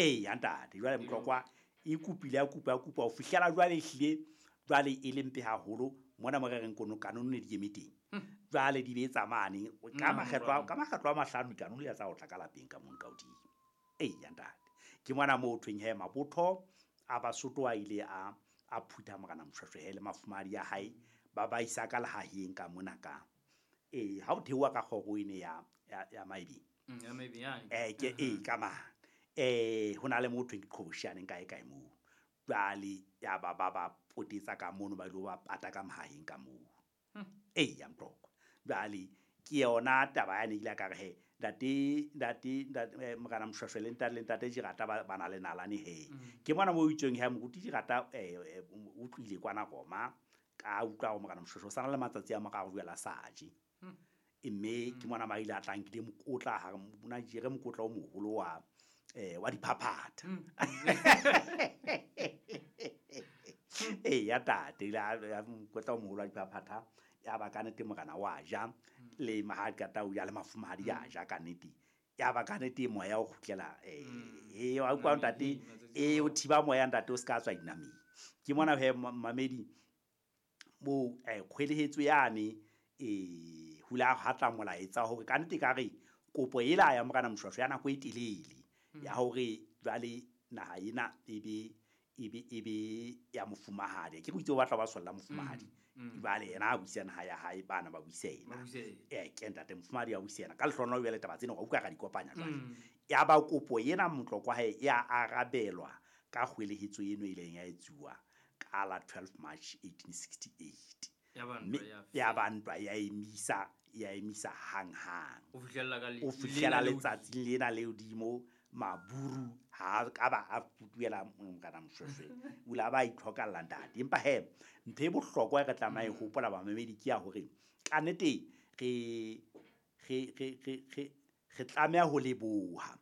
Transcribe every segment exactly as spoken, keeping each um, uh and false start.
Ee ya ntate, jwale Motlokwa e kopile a kopa a kopa ho fihlela jwale ehlile jwale e le mpe haholo mona mo re reng kono kanono ne di eme teng. Jwale di be tsamane ka makgetlo a ka makgetlo a mahlano dikanono di a tsa otla ka lapeng ka mono ka hodimo. Ee ya ntate, ke mona moo thweng he mabotho a Basotho a ile a a phutha Morena Moshweshwe he le mafumahadi ya hae ba ba isa ka lehaheng ka mona ka. Ee, ha o theoha ka kgoro ene ya ya ya Maebeng. Mm, ya Maebeng yane. Eh ke ee ka mane. Eh ho na le motho ke qhobosheaneng kae kae moo. Jwale ya ba ba ba potetsa ka mono ba ilo ba pata ka mahaheng ka moo. Ee ya Motlokwa. Jwale ke yona taba yane ile ka re he ntate ntate ntate Morena Moshweshwe le ntate le ntate Jirata ba ba na le nalane he. Ke mona moo itsweng he moruti Jirata eh o tlohile kwana Roma ka utlwa hore Morena Moshweshwe o sana le matsatsi a mararo jwale a sa je. Mme ke mona ma ile a tla nkile mokotla ha na jere mokotla o moholo wa eh wa diphaphatha. Ee ya tate ile a mokotla o moholo wa diphaphatha ya ba ka nnete morena wa ja le mahadi ka tau ya le mafumahadi ya ja ka nnete. Ya ba ka nnete moya o kgutlela eh eh wa utlwa ntate eh o thiba moya ntate o ska tswa dinameng. Ke mona he mamedi mo eh kgwelehetso yane eh hula hatla molaetsa hore ka nnete ka re kopo ela ya Morena Moshweshwe ya nako e telele ya hore jwale naha ena e be e be e be ya mofumahadi. Ke go itse o batla ba solla mofumahadi. Jwale yena a buisa naha ya hae bana ba buise yena. Eh ke ntate mofumahadi ya buise yena ka lehlono jwale taba tsena o utlwa ka di kopanya jwale. Ya ba kopo ena Motlokwa hae ya arabelwa ka kgwelehetso eno e ileng ya etsuwa ka la twelve March eighteen sixty-eight. Ya ba ntwa ya emisa ya emisa hang hang. O fihlela ka o fihlela letsatsing lena le hodimo maburu ha ka ba a futuela Morena Moshweshwe o la ba itlhokalla ntate. Empa he ntho e bohlokwa re tlameha ho hopola bamamedi ke ya hore ka nnete re re re re re tlameha ho leboha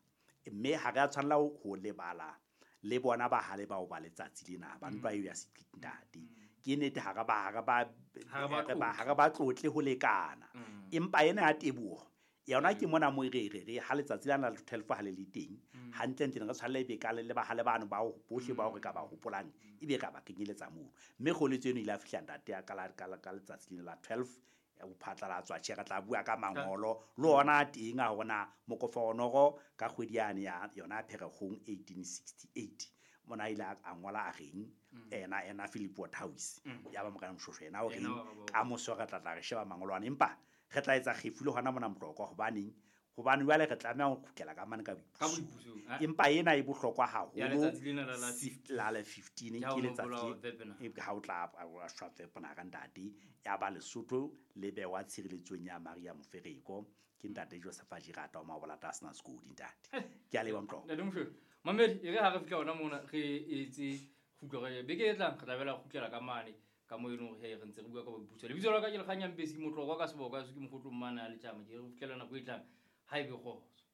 mme ha re a tshwanela ho lebala le bona ba hale bao ba letsatsi lena ba ntwa eo ya sekete ntate. Ke nnete ha re ba ha re ba ha re ba tlotle ho lekana empa ena ya teboho yona ke mona mo re re re ha letsatsi lana la twelve ha le le teng hantle ntle re tshwanela ebe ka le ba hale bano bao bohle bao re ka ba hopolang ebe ka ba kenyeletsa moo mme kgoletso eno ile a fihla ntate ya ka la ka letsatsi lena la twelve ya ho phatlalatswa. Tjhe re tla bua ka mangolo le ona teng a hona mokofonoro ka kgwedi yane ya yona Pherekgong eighteen sixty-eight mona ile a ngola a reng ena ena Philip Waterhouse ya ba Morena Moshweshwe ena o reng ka moso re tla tla re sheba mangolo ana empa re tla etsa kgefu le hona mona Motlokwa hobaneng hobane jwale re tlameha ho kgutlela ka mane ka boipuso empa ena e bohlokwa haholo la le fifteen ke letsatsi ha o tla a shwa Vepena ka ntate ya ba Lesotho le bewa tshireletsong ya Maria Mofereko ke ntate Joseph Jirata wa Mabolata a sena sekodi ntate. Ke a leboha Motlokwa. Ntate Moshweshwe mamedi e re ha re fihla hona mona re etse kgutlo re beke e tlang re tla bela kgutlela ka mane ka mo e leng hore re ntse re bua ka boipuso. Lebitso la ka ke Lekganya Mpesi Motlokwa ka seboka se ke mogotlong mane a letjama ke re fihlela nako e tlang ha ebe kgotso.